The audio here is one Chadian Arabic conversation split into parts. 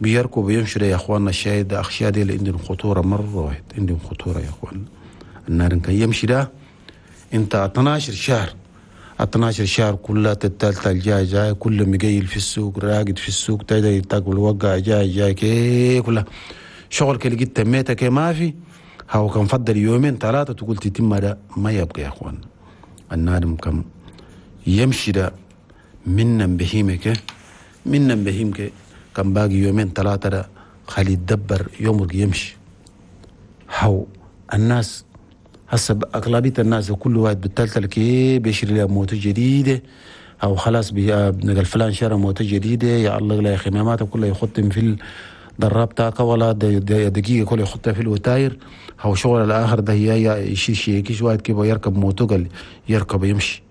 بيركب ويمشوا يا اخواننا. الشاي ده اخشياء دي اللي عندهم خطورة مرة واحد، عندهم خطورة يا اخواننا. النار كان يمشي ده انت 12 شهر، 12 شهر كلها التالتة الجاي جاي، كل مقيل في السوق، راقد في السوق، تايدا تاكل وقع جاي جاي كي كلها شغل كي لقيت تميتك ما في. هاو كان فضل يومين ثلاثة تقول تتم ده ما يبقى يا اخوان. النادم كم يمشي ده منا بهيمك، منا بهيمك كان باقي يومين ثلاثة ده خلي يتدبر يومك يمشي. هاو الناس هسه أغلبية الناس كل واحد بالتالتة كي بيشتري له موتو جديدة، أو خلاص نقل فلان شرى موتو جديدة، يا الله لا يا أخي ماتوا كله يختم في الدراب تاعك ولا دقيقة كله يحطها في الوتاير. هو شغل الآخر ده هي يشيل شيء واحد كيف يركب موتو قال يركب يمشي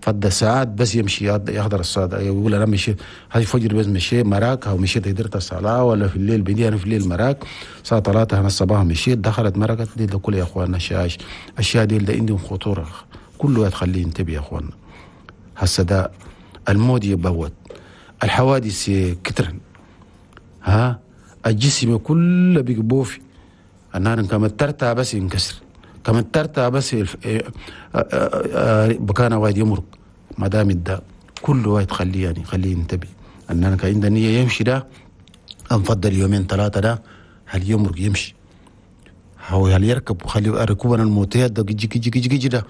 فد ساعات بس يمشي يحضر الصلاة، يقول أنا مشي هاي فجر بس مشي مراك، أو مشيت قدرت الصلاة ولا في الليل بدي أنا في الليل مراك الساعة 3 أنا الصباح مشيت دخلت مرقت دي ده كل يا أخواننا شاش أشياء دي اللي عندهم خطورة كله تخليه ينتبه يا أخواننا. هسه ده الموت يبوت، الحوادث كترن، ها الجسم كله بيقبوفي النار كما ترتع بس ينكسر، كما ترتع بس بكان وايد يمرق ما دام الداء كله وايد خليه يعني خليه ينتبه. أننا كان عنده نية يمشي ده أنفضل يومين ثلاثة ده هل يمرق يمشي، هو هل يركب خليه ركوبنا الموتيات ده جي جي جي جي ده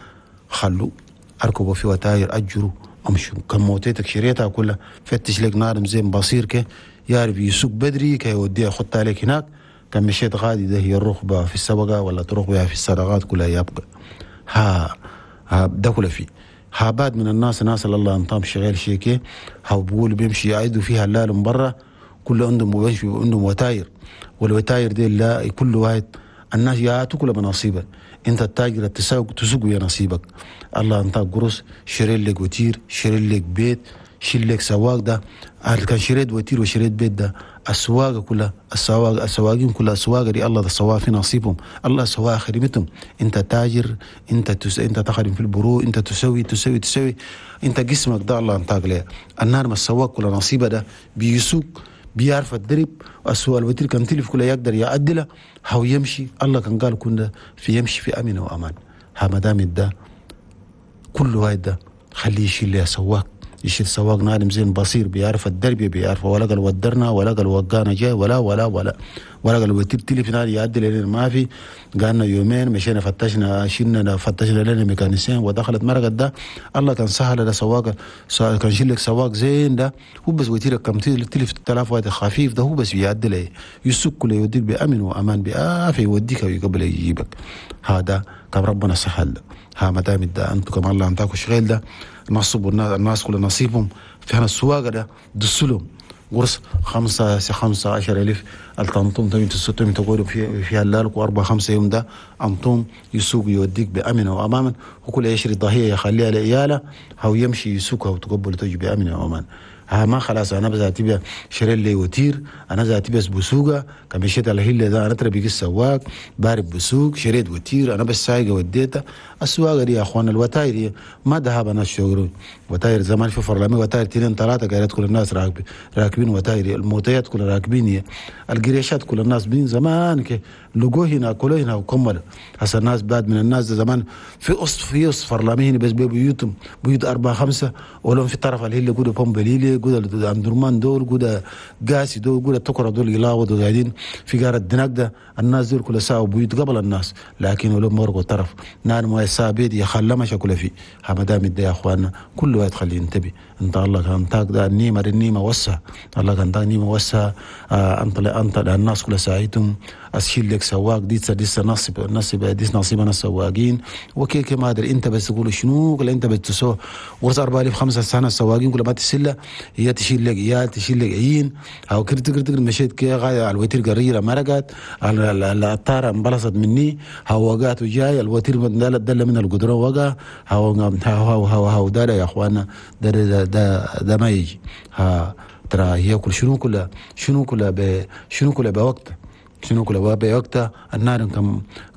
خلو أركبوا في وتاير أجروا أمشوا كم موتيتك شريتها كلها فتش لك نار زين بصير كي يعرف يسوق بدري كي يوديها خط عليك هناك. كان مشيت غادي ده هي الركبة في السبقة ولا تروح بها في الصدقات كلها يبقى ها ها ده كله فيه. ها بعد من الناس ناس الله انطام شغال شيء كي ها بقول بيمشي يعيدوا فيها اللال من برا كله عندهم بيمشي عندهم وتاير، والوتاير دي لا كل واحد الناس يعطوا كل بنصيبه. انت التاجر تسوق تسوق يا نصيبك الله انت قرص شري لك وتير شري لك بيت شيل لك سواق ده كان شريت وتير وشريت بيت ده السواقة كلها السواق السواقين كلها السواقة دي الله ده سواء في نصيبهم الله سواء خدمتهم. انت تاجر انت انت تخدم في البرو انت تسوي تسوي تسوي انت جسمك ده الله انتاج له النار ما السواق كل نصيبه ده بيسوق بيعرف الدرب السواق الوتير كان تلف كله يقدر يعدله هو يمشي الله كان قال كنا في يمشي في امن وامان. ها مدام ده كل واحد ده خليه يشيل له سواق يشيل سواق نادم زين بصير بيعرف الدرب بيعرف ولا قال ودرنا ولا قال وقانا جاي ولا ولا ولا ولا قال وتير تلف نادي يعدل لنا ما في قالنا يومين مشينا فتشنا شلنا فتشنا لنا ميكانيسيين ودخلت مرقت ده الله كان سهل ده سواق كان شيل لك سواق زين ده هو بس وتير كم تلف 3000 واحد خفيف ده هو بس بيعدل يسوق كله يوديك بأمن وأمان بآفة يوديك ويقبل يجيبك. هذا كم ربنا سهل ها ما دام ده انتم كم الله انتاكم شغال ده نصبوا الناس كل نصيبهم في هنا السواقة ده دسلهم قرص 5 15,000 الطنطوم تمي تسوتم تقولوا في هلالك وأربع 5 يوم ده أنطوم يسوق يوديك بأمن وأماما وكل يشري ضحية يخليها لعياله أو يمشي يسوقها وتقبل تجي بأمن وأمان. ها ما خلاص انا بس تبي شري لي وتير انا ذاتي بس بسوقه كان مشيت على هيل ده انا ترى السواق بارب بسوق شريت وتير انا بس سايقه وديته السواقة دي يا اخوان الوتاير دي ما ذهب انا الشغل وتاير زمان في فرلمي وتاير 2 3 قالت كل الناس راكبين وتاير الموتيات كل راكبين القريشات كل الناس بين زمان كي لقوه هنا كله هنا وكمل هسه الناس بعد من الناس زمان في قص فرلمي هنا بس بيوتهم بيوت 4 5 ولهم في طرف الهيل قولوا بومبليلي قول اندرمان دول قول قاسي دول قول التكرة دول يلاوضوا قاعدين في قارة الدناق ده الناس دول كل ساعة بيوت قبل الناس لكن ولو مرقوا طرف نار ما يسابيد يخلى ما شكله فيه همدام ده يا اخواننا كل واحد خليه ينتبه. انت الله كان تاك ده النيمة النيمة وسع الله كان تاك نيمة وسع انت الناس كل ساعتهم اشيل لك سواق دي نصيب نصيب دي نصيبنا السواقين وكيك ما ادري انت بس تقول شنو ولا انت بس تسوي ورث 4000 5 سنة السواقين كل ما تسله هي تشيل لك عيال تشيل لك عين او كرت كرت مشيت كي غاية على الوتير قريره مرقت الطاره انبلصت مني هو وقعت وجاي الوتير دل من القدرة وقع هو هو هو هو ده يا اخوانا ده ده ده, ده ما يجي. ها ترى هي كل شنو كلها شنو كلها شنو كلها بوقت شنو كل بوقتها النار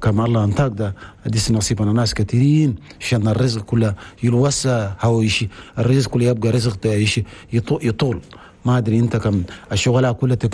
كم الله انتاك ده ديس نصيبنا ناس كثيرين عشان الرزق كله يلوسع هو يشي الرزق كله يبقى رزق يشي يطول ما ادري انت كم الشغلة كلها